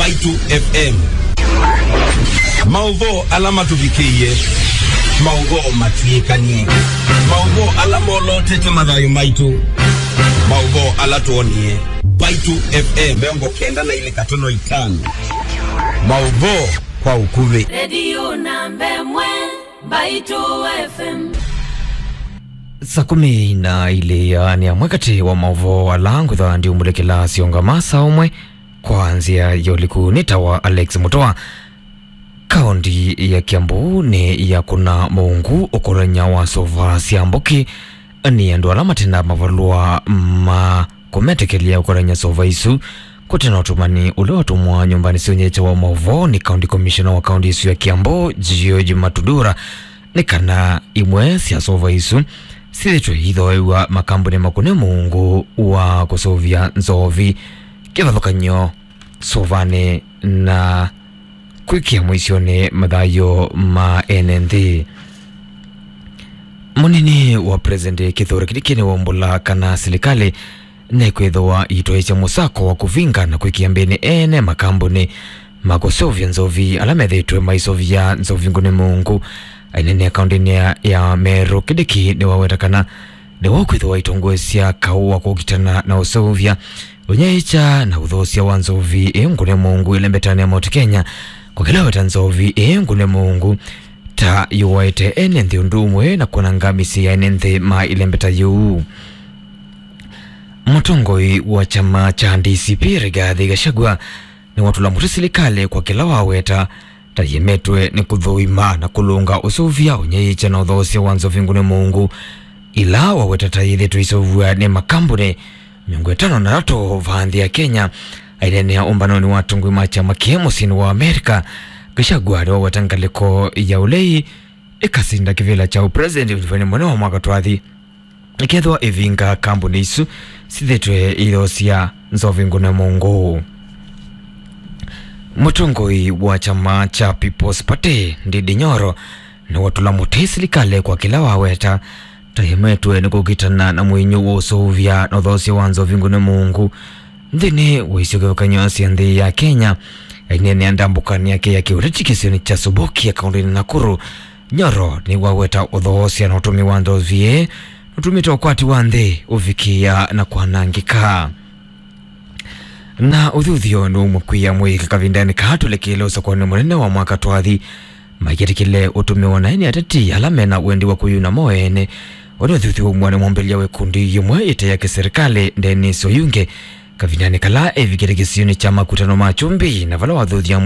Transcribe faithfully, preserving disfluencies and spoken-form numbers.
Mbaitũ F M. Maũvoo ala matũvikĩie, maũvoo matw'ĩkanie, maũvoo ala molotete mathayũ maitũ, maũvoo ala twonie. Mbaitũ F M mĩongo kenda na ilĩ katono itano. Maũvoo kwa ũkuvĩ. Redio namba ĩmwe, Mbaitũ F M. Saa kũmi na ilĩ ya nĩ amwe katĩ wa maũvoo ala ngwĩthwa ndiumbũlĩkĩla syongama saa ũmwe kwa nzĩa ya ũliku nĩ ta wa Alex Mutua. Kaunti ya Kiambu nĩ ya kũna mũungu ũkolany'a wa sova sya mbũkĩ nĩ andũ ala matenda mavalũa ma kũmetĩkĩlya ũkolany'a sova isu. Kũte na ũtũmani ũla watũmwa nyũmbanĩ sya ũnyaĩĩkya wa maũvoo nĩ County Commissioner wa kaunti ĩsu ya Kiambu, George Matudura, nĩ kana imwe sya sova isu syĩthĩtwe ithooew'a makambunĩ makũne mũungu wa kũseũvya nzovi, kĩvathũkany'o sovanĩ na kwĩkĩa mũisyonĩ mathayũ ma ene nthĩ. Mũnini wa President Kithure Kindiki nĩwaumbũla kana silikalĩ nĩkwĩthĩwa ĩitwaĩĩsya mũsako wa kũvinga na kwĩkĩa mbĩnĩ ene makambunĩ ma kũseũvya nzovi ala methĩĩtwe maisovya nzovi ngũne mũungu. Aineenea kaũntĩnĩ ya, ya Meru, Kindiki nĩwaweta kana nĩwakwĩthĩwa aitongoesya kaũ wa kũkitana na ũseũvya, ũnyaĩĩkya na ũthoosya wa nzovi ĩ ngũne mũungu ĩlembetanĩ ya Mount Kenya, kwa kĩla weta nzovi ĩ ngũne mũungu ta yũaĩte ene nthĩ ũndũ ũmwe na kũnanga mĩsyĩ ya ene nthĩ ma ĩlembeta yĩu. Mũtongoi wa kyama kya D C P, Rigathi Gachagua, nĩwatũla mũtĩ silikalĩ kwa kĩla waweta ta yĩemetwe nĩ kũthũima na kũlũnga ũseũvya, ũnyaĩĩkya na ũthoosya wa nzovi ngũne mũungu, ila waweta ta yĩthĩtwe iseũvw'a nĩ makambunĩ mĩongo ĩtano na atatũ vaa nthĩ ya Kenya. Aineenea ũmbanonĩ wa atongoi ma kyama kĩĩ mũsyĩnĩ wa Amerika, Gachagua nĩwaweta ngalĩko ya ũlei ĩkasinda kĩvĩla kya ũpresident ũnyuvanĩ mũnene wa mwaka twathi, ĩkethĩwa ĩvinga kambunĩ isu syĩthĩtwe iyoosya nzovi ngũne mũungu. Mũtongoi wa kyama kya People's Party, Ndindi Nyoro, nĩwatũla mũtĩ silikalĩ kwa kĩla waweta ta yĩemetwe nĩ kũkitana na mũinyũ wa ũseũvya na ũthoosya wa nzovi ngũne mũungu nthĩnĩ wa isio kĩvathũkany'o sya nthĩ ya Kenya. Aineenea ndambũkanĩ yake ya kĩũteti kĩsionĩ kya Subukia kaũntĩnĩ Nakuru, Nyoro nĩwaweta ũthoosya na ũtũmi wa nzovi ĩĩ nũtumĩte ũkwati wa nthĩ ũvikĩa na kwanangĩka. Na ũthuthyo nũũmũkwĩa mwĩĩka kavindanĩ kaa tũlekele ũsakuanĩ mũnene wa mwaka twathi, maiketĩkĩle ũtũmĩwa naĩ nĩ ateti ala mena wendi wa kwĩyuna mo ene. Ũndũ ũthuthyo umwa nĩ mũmbĩlya wa ikundi yĩmwe ĩte ya kĩserĩkalĩ, Dennis Oyunge, kavindanĩ kala evikĩte kĩsionĩ kya makutano ma Kyumbi, na vala wathuthya